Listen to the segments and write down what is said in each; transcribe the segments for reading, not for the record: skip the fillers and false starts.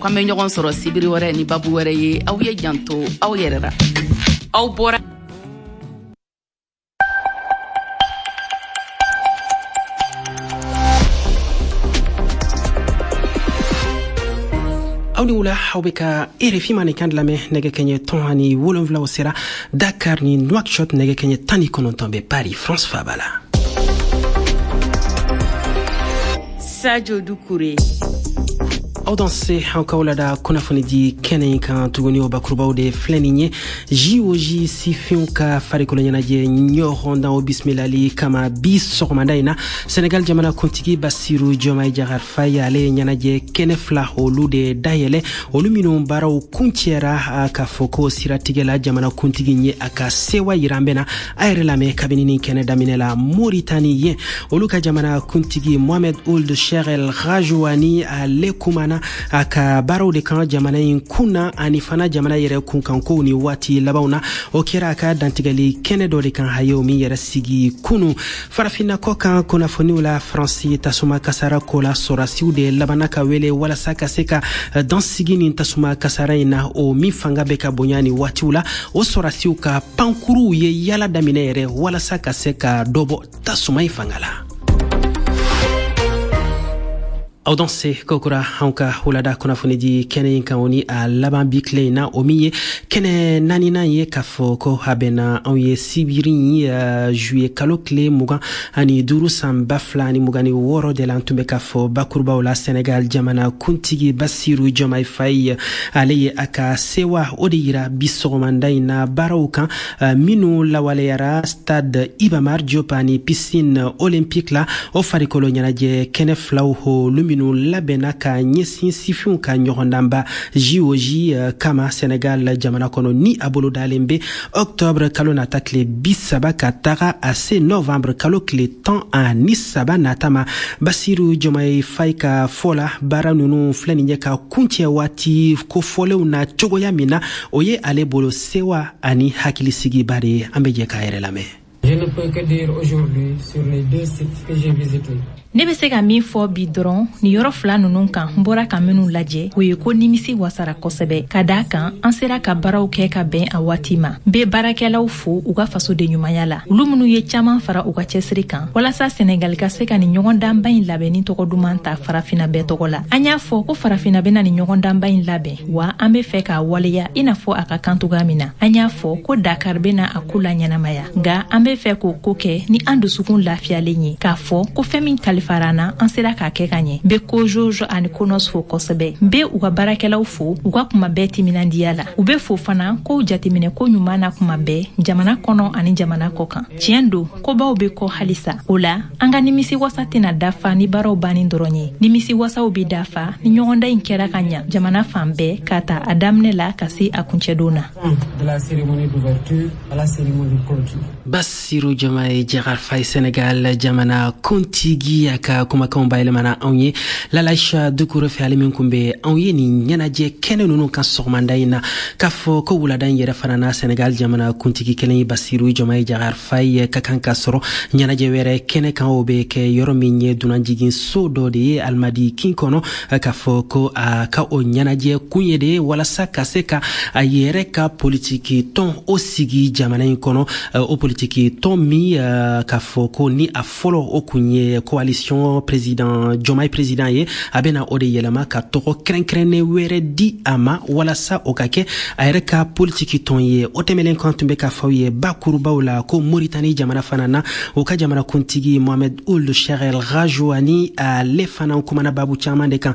K'an bɛ ɲɔgɔn sɔrɔ sibiri wɛrɛ ni babu wɛrɛ ye. Aw ye janto aw yɛrɛ la. Aw bɔra Aw ni wula, aw bɛ ka RFI mandenkan lamɛn. Nɛgɛ kɛɲɛ 17 o sera Dakar ni Nouakchott, nɛgɛ kɛɲɛ 19 bɛ Paris, France faba la. Sadio Dukure. Aw danse, an k'aw lada kunnafoni di kɛnɛ in kan tuguni. O bakurubaw de filɛ nin ye: JOJ sifinw ka farikolo ɲɛnajɛ ɲɔgɔndan o bisimilali kama bi sɔgɔmada in na, Senegal jamana kuntigi Basiru Jɔmayi Jagar Faye, ale ye ɲɛnajɛ kɛnɛ fila olu de dayɛlɛ, olu minnu baaraw kuncɛra. K'a fɔ ko siratigɛ la, jamana kuntigi ye a ka sewa yira. An bɛna a yɛrɛ lamɛn kabini nin kɛnɛ daminɛ la. Moritani yen, olu ka jamana kuntigi Mohamed Ould Cheikh El Ghazouani, ale kumana a ka baaraw de kan jamana in kun na ani fana jamana yɛrɛ kunkankow ni waati labanw na. O kɛra a ka dantigɛli kɛnɛ dɔ de kan, a ye o min yɛrɛ sigi kunu. Farafinna kɔ kan kunnafoniw la, Faransi tasuma kasara ko la, sɔrasiw de labanna ka wele walasa ka se ka dansigi nin tasuma kasara in na, o min fanga bɛ ka bonya ni waatiw la. O sɔrasiw ka pankuruw ye yala daminɛ yɛrɛ walasa ka se ka dɔ bɔ tasuma in fanga la. Aw danse kokura, anw ka wulada kunnafoni di kɛnɛ in kan, o ni a laban bi tile in na, o min ye kɛnɛ naaninan ye, k'a fɔ ko a bɛnna anw ye sibiri juillet kalo tile 25 san 2026 de la. An tun bɛ k'a fɔ bakurubaw la, Senegal jamana kuntigi Basiru Jɔmai Faye, ale ye a ka sewa o de yira bi sɔgɔmanda in na baaraw kan minnu lawaleyara stade Iba Mar Diop ani piscine olympique la. O farikolo ɲɛnajɛ kɛnɛ filaw, olu minnu labɛnna ka ɲɛsin sifinw ka ɲɔgɔndanba JOJ kama Senegal jamana kɔnɔ, ni a bolo dalen bɛ octobre kalo nata tile 30 ka taga a se novembre kalo tile 13 nata ma. Basiru Jɔmaye Fayi ka fɔ la, baara ninnu filɛ nin ye ka kuncɛ waati kofɔlenw na cogoya min na, o ye ale bolo sewa ani hakilisigiba de ye. An bɛ jɛ k'a yɛrɛ lamɛn. Je ne peux que dire aujourd'hui sur les deux sites que j'ai visités. Ne bɛ se ka min fɔ bi dɔrɔn nin yɔrɔ fila ninnu kan n bɔra ka minnu lajɛ, o ye ko nimisi wasara kosɛbɛ, ka da kan an sera ka baaraw kɛ ka bɛn a waati ma. N bɛ baarakɛlaw fo u ka fasoden ɲumanya la, olu minnu ye caaman fara u ka cɛsiri kan walasa Senegali ka se ka nin ɲɔgɔndanba in labɛnni tɔgɔ duman ta Farafina bɛɛ tɔgɔ la. An y'a fɔ ko Farafina bɛna nin ɲɔgɔndanba in labɛn wa, an be fɛ k'a waleya i n'a fɔ a ka kan cogoya min na. An y'a fɔ ko Dakar bɛna a ko la ɲɛnamaya, nka an be fɛ k'o ko kɛ ni an dusukun lafiyalen ye, k'a fɔ ko fɛn min kalifara an na, an sera k'a kɛ ka ɲɛ. N be COJOJ ani CNOS fo kosɛbɛ. N be u ka baarakɛlaw fo u ka kuma bɛɛ timinandiya la. U be fo fana kow jateminɛ ko ɲuman na kuma bɛɛ, jamana kɔnɔ ani jamana kɔ kan. Tiɲɛ don, kobaw be kɔ halisa. O la, an ka nimisi wasa tɛna dafa ni baaraw banni dɔrɔn ye. Nimisi wasaw be dafa ni ɲɔgɔndan in kɛra ka ɲa jamana fan bɛɛ, k'a ta a daminɛ la ka se a kuncɛdon na. De la cérémonie d'ouverture à la cérémonie de clôture. Basiru Jɔmaye Jagar Faye, Senegal jamana kuntigi, a ka kumakanw bayɛlɛmana anw ye Lalaisha Dukure fɛ, ale min kun bɛ anw ye nin ɲɛnajɛ kɛnɛ ninnu kan sɔgɔmanda in na. K'a fɔ ko wulada in yɛrɛ fana na, Senegal jamana kuntigi kelen ye Basiru Jɔmaye Jagar Faye ka kan ka sɔrɔ ɲɛnajɛ wɛrɛ kɛnɛ kan. O bɛ kɛ yɔrɔ min ye dunanjigin so dɔ de ye Alimadi kin kɔnɔ. K'a fɔ ko a ka o ɲɛnajɛ kun ye de ye walasa ka se ka a yɛrɛ ka politiki tɔn o sigi jamana in kɔnɔ, o politiki tɔn min k'a fɔ ko ni a fɔlɔ o kun ye coalition président Jɔmaye président ye, a bɛna o de yɛlɛma ka tɔgɔ kɛrɛnkɛrɛnnen wɛrɛ di a ma walasa o ka kɛ a yɛrɛ ka politiki tɔn ye. O tɛmɛlen kan, tun bɛ k'a fɔ aw ye bakurubaw la ko Moritani jamana fana na, o ka jamana kuntigi Mohamed Ould Cheikh El Ghazouani, ale fana kumana babu caman de kan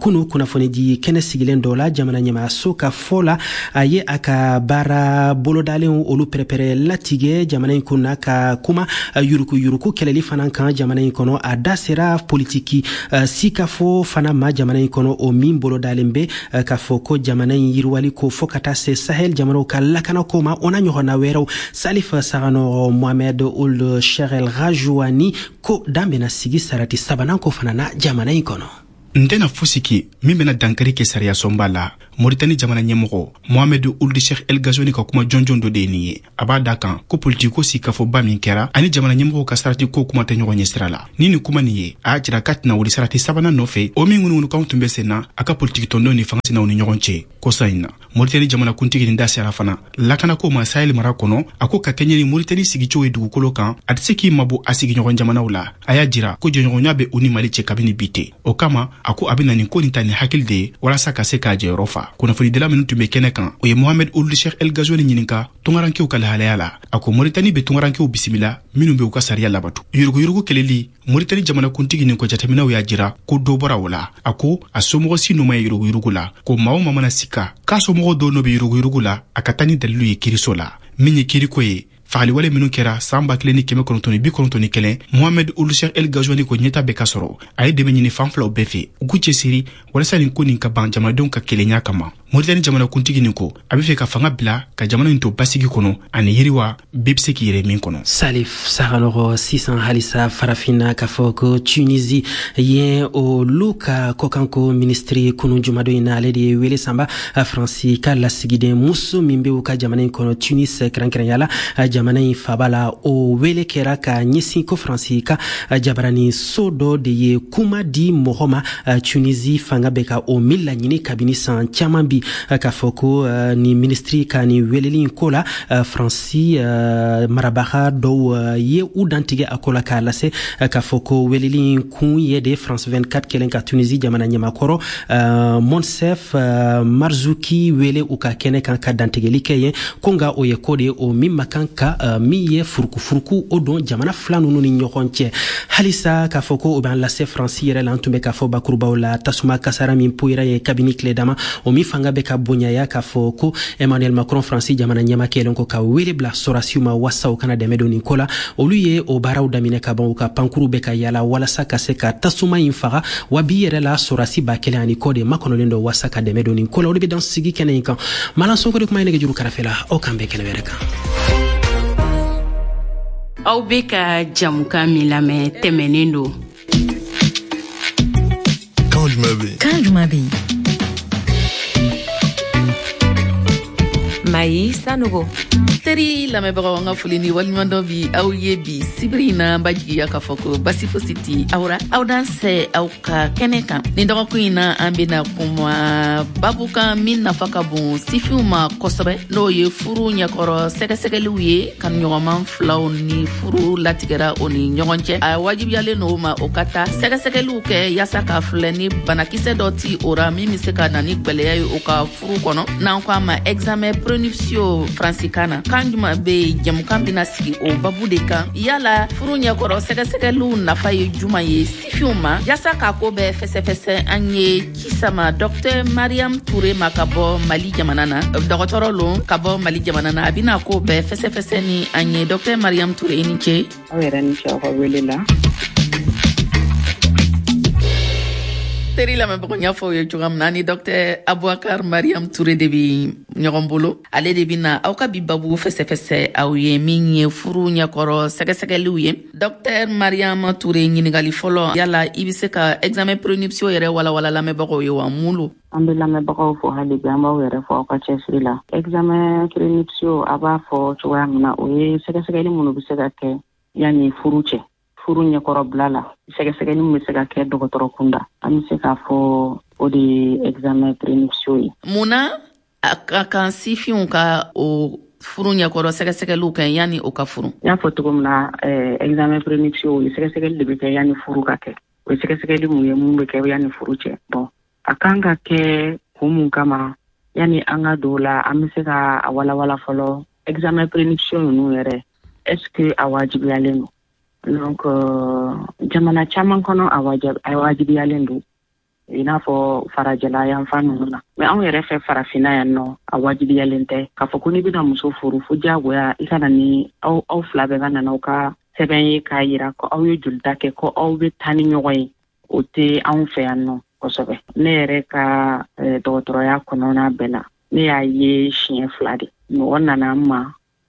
kunu kunnafoni di kɛnɛ sigilen dɔ la. Jamana ɲɛmaayaso ka fɔ la, a ye a ka baara bolodalenw olu pɛrɛpɛrɛ latigɛ jamana in kunna, ka kuma yuruku yuruku kɛlɛli fana kan jamana in kɔnɔ. A da sera politiki sikafo fana ma jamana in kɔnɔ, o min bolodalen bɛ k'a fɔ ko jamana in yiriwali ko fɔ ka taa se Sahel jamanaw ka lakanako ma, o n'a ɲɔgɔnna wɛrɛw. Salif Saganɔgɔ, Mohamed Ould Cheikh El Ghazouani ko dan bɛna sigi sarati sabanan ko fana na jamana in kɔnɔ. N tɛna fosi kɛ min bɛna dankari kɛ sariya sɔnba la. Moritani jamana ɲɛmɔgɔ Mohamed Ould Cheikh El Ghazouani ka kuma jɔnjɔn dɔ de ye nin ye. A b'a da kan ko politiko sigikafɔba min kɛra ani jamana ɲɛmɔgɔw ka sarati ko kuma tɛ ɲɔgɔn ɲɛ sira la. Ni nin kuma nin ye, a y'a jira k'a tɛna wuli sarati sabanan nɔfɛ, o min ŋunuŋunukanw tun bɛ sen na a ka politiki tɔndenw ni fanga sinaw ni ɲɔgɔn cɛ kɔsa in na. Moritani jamanakuntigi nin da sera fana lakanako ma Sahel mara kɔnɔ. A ko ka kɛɲɛ ni Moritani sigicogo ye dugukolo kan, a tɛ se k'i mabɔ a sigiɲɔgɔn jamanaw la. A y'a jira ko jɛɲɔgɔnya bɛ u ni Mali cɛ kabini bi tɛ. O kama, a ko a bɛ na nin ko nin ta ni hakili de ye walasa ka se k'a jɔyɔrɔ fa. Kunnafonidila minnu tun bɛ kɛnɛ kan, o ye Mohamed Ould Cheikh El Ghazouani ɲininka tungarankew ka lahalaya la. A ko Moritani bɛ tungarankew bisimila minnu bɛ u ka sariya labatu. Yuruguyurugu kɛlɛli, Moritani jamanakuntigi nin ko jateminɛw y'a jira ko dɔ bɔra o la. A ko a somɔgɔ si nɔ ma ye yuruguyurugu la, ko maa o maa mana sika k'a somɔgɔ dɔw nɔ bɛ yuruguyurugu la, a ka taa ni dalilu ye kiiriso la. Min ye kiiriko ye, fagaliwale minnu kɛra san 1991, Mohamed Ould Cheikh El Ghazouani ko ɲɛta bɛ ka sɔrɔ. A ye dɛmɛ ɲini fan filaw bɛɛ fɛ, u k'u cɛsiri walasa nin ko nin ka ban jamanadenw ka kelenya kama. Moritani jamanakuntigi nin ko a bɛ fɛ ka fanga bila ka jamana nin to basigi kɔnɔ ani yiriwa bɛɛ bɛ se k'i yɛrɛ min kɔnɔ. Salif Saganɔgɔ. Sisan halisa farafinna, k'a fɔ ko Tunisie yen, olu ka kɔkanko ministre, kunu jumadon in na, ale de ye wele sanba Faransi ka lasigiden muso min bɛ u ka jamana in kɔnɔ, Tunis kɛrɛnkɛrɛnya la, jamana in faba la. O wele kɛra ka ɲɛsin ko Faransi ka jabarani so dɔ de ye kuma di mɔgɔ ma, Tunisie fanga bɛ ka o min laɲini kabini san caman bi. K'a fɔ ko ni ministre ka nin weleli in ko la, Faransi marabaga dɔw ye u dantigɛ a ko la, k'a lase k'a fɔ ko weleli in kun ye de France 24 kɛlen ka Tunisie jamana ɲɛmakɔrɔ Moncef Marzouki wele u ka kɛnɛ kan ka dantigɛli kɛ yen ko, nka o ye ko de ye o min ma kan ka min ye furukufuruku o don jamana fila ninnu ni ɲɔgɔn cɛ. Halisa k'a fɔ ko o b'an lase Faransi yɛrɛ la, an tun bɛ k'a fɔ bakurubaw la, tasuma kasara min poyira ye kabini tile dama, o min fanga bɛ ka bonyaya, k'a fɔ ko Emmanuel Macron, Faransi jamana ɲɛma, kɛlen ko ka wele bila sɔrasiw ma wasa u kana dɛmɛ don nin ko la. Olu ye o baaraw daminɛ ka ban, u ka pankuru bɛ ka yala walasa ka se ka tasuma in faga. Wa bi yɛrɛ la, sɔrasi 1000 ani kɔ de makɔnɔlen don wasa ka dɛmɛ don nin ko la. O de bɛ dan sigi kɛnɛ in kan. Malan Sonko de kuma ye nɛgɛjuru kɛrɛfɛ la. Aw k'an bɛn kɛnɛ wɛrɛ kan. Aw bɛ ka jamukan min lamɛn, tɛmɛnen don. Kan jumɛn bɛ yen? Kan jumɛn bɛ yen? Mayi Sanogo. Teri lamɛnbagaw, an ka foli ni waleɲumandɔn bi aw ye bi sibiri in na. An b'a jigiya k'a fɔ ko basi fosi ti aw ra. Aw dansɛ aw ka kɛnɛ kan. Nin dɔgɔkun in na, an bena kuma babu kan min nafa ka bon sifinw ma kosɛbɛ, n'o ye furu ɲɛkɔrɔ sɛgɛsɛgɛliw ye. Kanuɲɔgɔnman filaw ni furu latigɛra o ni ɲɔgɔn cɛ, a wajibiyalen n'o ma o ka taa sɛgɛsɛgɛliw kɛ yaasa k'a filɛ ni banakisɛ dɔ ti o ra min be se ka na ni gwɛlɛya ye o ka furu kɔnɔ, n'an ko a ma examen prénuptiaux faransikan na. Kan juman be jɛmukan bena sigi o babu de kan. Yala furu ɲɛkɔrɔ sɛgɛsɛgɛliw nafa ye juman ye sifinw ma? Yaasa k'a ko bɛɛ fɛsɛfɛsɛ, an ye ci sama Dɔktɛr Mariam Ture ma ka bɔ Mali jamana na. Dɔgɔtɔrɔ lon ka bɔ Mali jamana na, a bɛna ko bɛɛ fɛsɛfɛsɛ ni an ye. Dɔktɛr Mariam Ture, i ni ce. Aw yɛrɛ ni ce aw ka wele la. Teri lamɛnbagaw, n y'a fɔ aw ye cogoya min na, ni Dɔktɛr Abubakar Mariam Ture de bi ɲɔgɔn bolo. Ale de bɛna aw ka bi babu fɛsɛfɛsɛ aw ye, min ye furu ɲɛkɔrɔ sɛgɛsɛgɛliw ye. Dɔktɛr Mariam Ture, ɲinigali fɔlɔ, yala i bɛ se ka examen prénuptiaux yɛrɛ walawala lamɛnbagaw ye wa? Mun lo? An bɛ lamɛnbagaw fo hali bi, an b'aw yɛrɛ fɔ aw ka cɛsiri la. Examen prénuptiaux, a b'a fɔ cogoya min na, o ye sɛgɛsɛgɛli minnu bɛ se ka kɛ yanni furu cɛ, furu ɲɛkɔrɔbila la, sɛgɛsɛgɛli min bɛ se ka kɛ dɔgɔtɔrɔ kunda, an bɛ se k'a fɔ o de ye examen prénuptiaux ye. Mun na a ka kan sifinw ka o furu ɲɛkɔrɔ sɛgɛsɛgɛliw kɛ yanni o ka furu? N y'a fɔ cogo min na, examen prénuptiaux, o ye sɛgɛsɛgɛli de bɛ kɛ yanni furu ka kɛ. O ye sɛgɛsɛgɛli mun ye, mun bɛ kɛ yanni furu cɛ. Bon, a kan ka kɛ kun mun kama, yanni an ka don o la, an bɛ se ka a walawala fɔlɔ, examen prénuptiaux ninnu yɛrɛ, est ce que a wajibiyalen don? Donc jamana caman kɔnɔ, a wajibiyalen don, i n'a fɔ farajɛla yanfan ninnu na. Mais anw yɛrɛ fɛ farafinna yan nɔ, a wajibiyalen tɛ k'a fɔ ko n'i bɛna muso furu, fo diyagoya i ka na ni aw fila bɛɛ ka nana aw ka sɛbɛn ye k'a yira ko aw ye jolita kɛ, ko aw bɛ taa ni ɲɔgɔn ye. O tɛ anw fɛ yan nɔ kosɛbɛ. Ne yɛrɛ ka dɔgɔtɔrɔya kɔnɔna bɛɛ la, ne y'a ye siɲɛ fila de, mɔgɔ nana n ma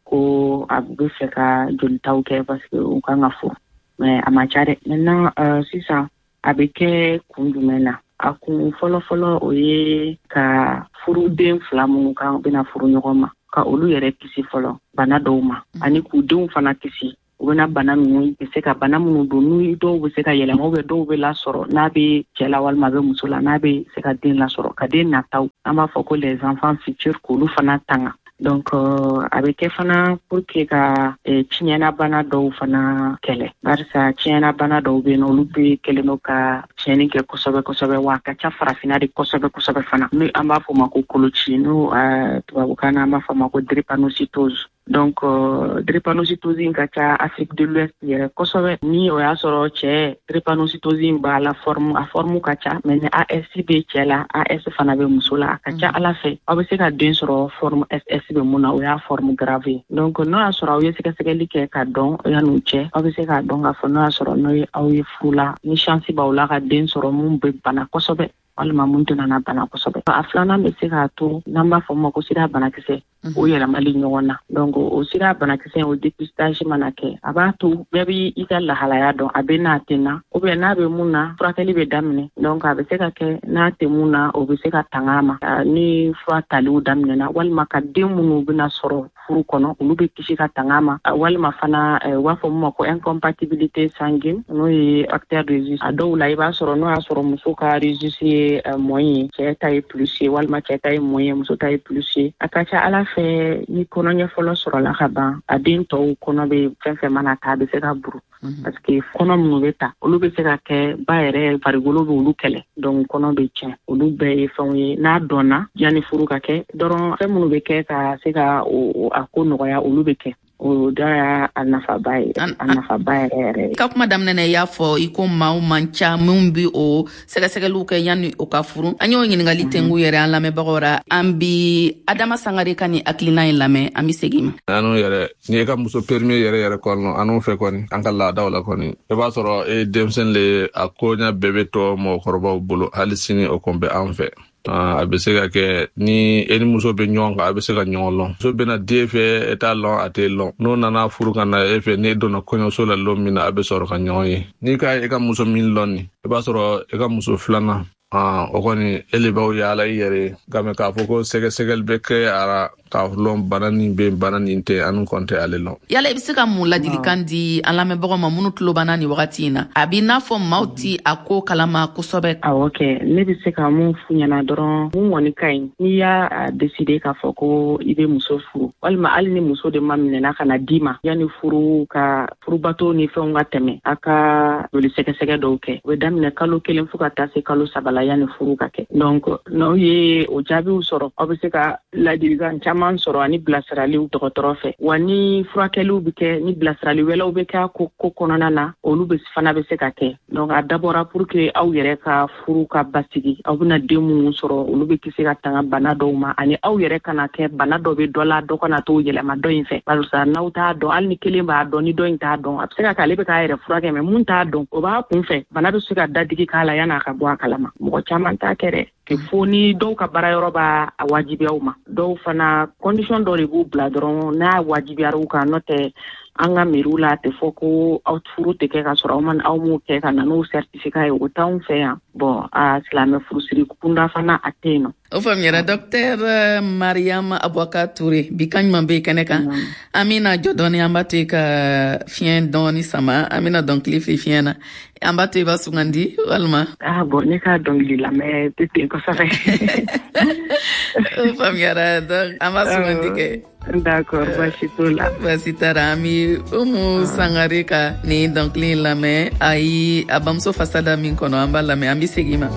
ko a bɛ fɛ ka jolitaw kɛ parce que u kan ka furu, mais a ma ca dɛ. Maintenant sisan, a bɛ kɛ kun jumɛn na? A kun fɔlɔfɔlɔ, o ye ka furuden fila minnu kan bɛna furu ɲɔgɔn ma, ka olu yɛrɛ kisi fɔlɔ bana dɔw ma, ani k'u denw fana kisi. U bɛna bana ninnu bɛ se ka bana minnu don, n'u dɔw bɛ se ka yɛlɛma, ou bien dɔw bɛ lasɔrɔ n'a bɛ cɛ la walima a bɛ muso la, n'a bɛ se ka den lasɔrɔ, ka den nataw, an b'a fɔ ko les enfants futurs, k'olu fana tanga. Donc a bɛ kɛ fana pour que ka tiɲɛnabana dɔw fana kɛlɛ, barisa tiɲɛnabana dɔw bɛ yen nɔ, olu bɛ kɛlen don ka tiɲɛni kɛ kosɛbɛ kosɛbɛ, wa a ka ca Farafinna de kosɛbɛ kosɛbɛ fana. Ni an b'a fɔ o ma ko koloci, n'o tubabukan na an b'a fɔ a ma ko drépanocytose. Donc drépanocytose in ka ca Afrique de l'Ouest yɛrɛ kosɛbɛ. Ni o y'a sɔrɔ cɛ drépanocytose in b'a la, forme, a forme ka ca, mais ni AS bɛ cɛ la, AS fana bɛ muso la, a ka ca Ala fɛ aw bɛ se ka den sɔrɔ forme SS bɛ mun na, o y'a forme grave ye. Donc n'o y'a sɔrɔ aw ye sɛgɛsɛgɛli kɛ ka dɔn yan'u cɛ, aw bɛ se k'a dɔn k'a fɔ n'o y'a sɔrɔ n'o ye aw ye furu la, ni chance b'aw la ka den sɔrɔ mun bɛ bana kosɛbɛ walima mun tɛna na bana kosɛbɛ. A filanan bɛ se k'a to n'an b'a fɔ ma ko sida banakisɛ, o yɛlɛmali ɲɔgɔn na. Donc o sida banakisɛ, o dépistage mana kɛ, a b'a to bɛɛ b'i i ka lahalaya dɔn, a bɛ n'a tɛ na, ou bien n'a bɛ mun na, furakɛli bɛ daminɛ. Donc a bɛ se ka kɛ n'a tɛ mun na, o bɛ se ka tanga a ma ni fura taliw daminɛna, walima ka den minnu bɛna sɔrɔ furu kɔnɔ, olu bɛ kisi ka tanga a ma. Walima fana u b'a fɔ mun ma ko incompatibilité sanguine, n'o ye facteur rhésus. A dɔw la, i b'a sɔrɔ n'o y'a sɔrɔ muso ka rhésus ye moins ye, cɛ ta ye plus ye, walima cɛ ta ye moins ye, muso ta ye plus ye, a ka ca Ala fɛ ni kɔnɔɲɛ fɔlɔ sɔrɔla ka ban, a den tɔw kɔnɔ bɛ fɛn fɛn mana ta, a bɛ se ka buru, parce que kɔnɔ minnu bɛ ta, olu bɛ se ka kɛ ba yɛrɛ farikolo bɛ olu kɛlɛ, donc kɔnɔ bɛ tiɲɛ. Olu bɛɛ ye fɛnw ye n'a dɔnna yanni furu ka kɛ dɔrɔn, fɛn minnu bɛ kɛ ka se ka a ko nɔgɔya, olu bɛ kɛ. O da y'a a nafaba ye, a nafaba yɛrɛ yɛrɛ ye. Ka kuma daminɛ na, i y'a fɔ i ko maaw man ca minnu bi o sɛgɛsɛgɛliw kɛ yanni o ka furu. An y'o ɲiningali tengu yɛrɛ an lamɛnbagaw ra. An bi Adama Sangare ka ni hakilina in lamɛn, an bi segin ma. Anu yɛrɛ, n'i ye ka muso premier yɛrɛ yɛrɛ kɔnɔ, anu fɛ kɔni, an ka laadaw la kɔni, i b'a sɔrɔ e denmisɛn le, a koɲa bɛɛ bɛ to mɔgɔkɔrɔbaw bolo. Hali sini o kɔn bɛ an fɛ. A bɛ se ka kɛ ni e ni muso bɛ ɲɔgɔn kan, a bɛ se ka ɲɔgɔn lɔn. Muso bɛna den fɛ, e t'a lɔn, a t'e lɔn. N'o nana furu ka na e fɛ, n'e donna kɔɲɔso la lon min na, a bɛ sɔrɔ ka ɲɔgɔn ye. N'i ka e ka muso min lɔn nin, i b'a sɔrɔ e ka muso filanan, o kɔni e le b'aw yaala i yɛrɛ ye. Nka mɛ k'a fɔ ko sɛgɛsɛgɛli bɛ kɛ a la k'a lɔn bana nin bɛ, bana nin tɛ, anu kɔn tɛ ale lɔn. Yala i bɛ se ka mun ladilikan di an lamɛnbagaw ma minnu tulo banna nin wagati in na? A b'i n'a fɔ maaw ti a ko kalama kosɛbɛ. Awɔ kɛ, ne bɛ se ka mun f'u ɲɛna dɔrɔn, mun kɔni ka ɲi, n'i y'a décider k'a fɔ ko i bɛ muso furu, walima hali ni muso de ma minɛna ka na d'i ma, yanni furu ka furubato ni fɛnw ka tɛmɛ, a ka joli sɛgɛsɛgɛ dɔw kɛ. O bɛ daminɛ kalo 1 fo ka taa se kalo 3 la yanni furu ka kɛ. Donc n'aw ye o jaabiw sɔrɔ, aw bɛ se ka ladilikan caman sɔrɔ ani bilasiraliw dɔgɔtɔrɔ fɛ. Wa ni furakɛliw bɛ kɛ, ni bilasirali wɛrɛw bɛ kɛ a ko kɔnɔna na, olu bɛ fana bɛ se ka kɛ. Donc a dabɔra pour que aw yɛrɛ ka furu ka basigi, aw bɛna den minnu sɔrɔ, olu bɛ kisi ka tanga bana dɔw ma, ani aw yɛrɛ kana kɛ bana dɔ bɛ dɔ la, dɔ kana t'o yɛlɛma dɔ in fɛ, barisa n'aw t'a dɔn, hali ni kelen b'a dɔn, ni dɔ in t'a dɔn, a bɛ se ka kɛ ale bɛ k'a yɛrɛ furakɛ, mais mun t'a dɔn, o b'a kun fɛ, bana bɛ se ka dadigi k'a la yan'a ka bɔ a kalama. Mɔgɔ caman t'a kɛ dɛ, fo ni dɔw ka baara yɔrɔ b'a a wajibiya u ma. Dɔw fana condition dɔ de b'u bila dɔrɔn n'a wajibiyara u kan. N'o tɛ, an ka miiriw la, a tɛ fɔ ko aw furu tɛ kɛ ka sɔrɔ aw ma aw m'o kɛ ka na n'o certificat ye, o t'anw fɛ yan. Bon, a silamɛ furusiri kunda fana a tɛ yen nɔ. O faamuyara, docteur Mariam Aboubacar Touré. Bi kan ɲuman bɛ kɛnɛ kan. An bɛna jɔ dɔɔni, an b'a to i ka fiɲɛ dɔɔni sama, an bɛna dɔnkili fili fiɲɛ na, an b'a to i b'a sugandi walima. Ah bon, ne ka dɔnkili lamɛn tɛ ten kosɛbɛ. O faamuyara, donc an b'a sugandi kɛ. D'accord, baasi t'o la. Baasi t'a la. An bi Umu Sangare ka nin dɔnkili in lamɛn. Ayi, a bamuso fasa da min kɔnɔ, an b'a lamɛn, an bi segin ma.